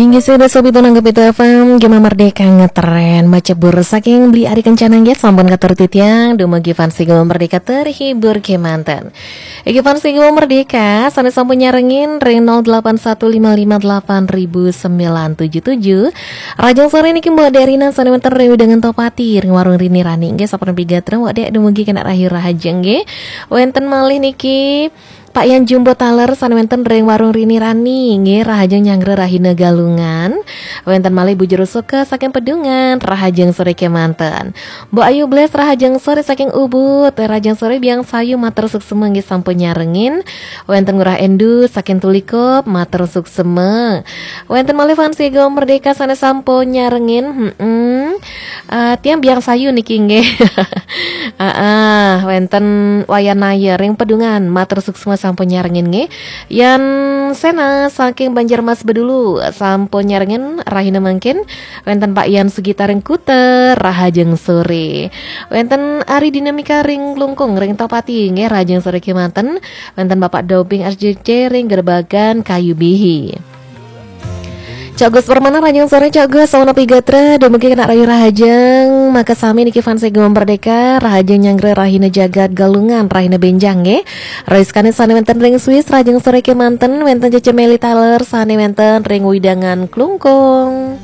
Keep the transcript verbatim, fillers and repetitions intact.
Inggih sida sobi tunang Gema Merdeka ngetren macebur saking Beli Ari Kencana nggih sampun katur titiang dumugi fans Gema Merdeka terhibur kemanten. Inggih fans Gema Merdeka sane sampun nyarengin ring nol delapan satu lima lima delapan ribu sembilan tujuh tujuh. Rahajeng sore niki Mbok Dek Rina sane wenten ring wewidangan Tohpati ring warung Rini Rani nggih sampun pigatra Mbok Dek dumugi kena rahayu rahajeng nggih. Wenten malih niki Pak Yan Jumbo Taler sane wenten ring warung Rini Rani nggih rahajeng nyanggra rahina Galungan. Wenten malih Bu Jero Soka saking Pedungan rahajeng sore kemanten. Mbok Ayu Bles rahajeng sore saking Ubud, rahajeng sore Biang Sayu matur suksema nggih sampun nyarengin. Wenten Ngurah Endu saking Tulikup matur suksema. Wenten malih fans Gema Merdeka sane sampun nyarengin. Heeh. Eh, tiang Biang Sayu niki nggih. Heeh, wenten Wayan Naya ring Pedungan matur suksema sampun nyarengin nggih. Yan Sena saking Banjarmas Bedulu sampun nyarengin rahina mangkin. Wenten Pak Yan Sugita ring Kuta rahajeng sore. Wenten Ari Dinamika ring Klungkung ring Tohpati nggih rahajeng sore kemanten. Wenten Bapak Dobing R J C ring Gerbagan Kayu Bihi. Cok Gus Permana rahajeng sore Cok Gus, sawana pigatra dumugi kena rahayu rahajeng. Maka sami niki fans Gema Merdeka rahajeng nyanggra rahina jagat Galungan rahina benjang nggih. Rais Kanis sane wenten ring Swiss rahajeng sore kemanten, wenten Cece Meli Taler sane wenten ring wewidangan Klungkung.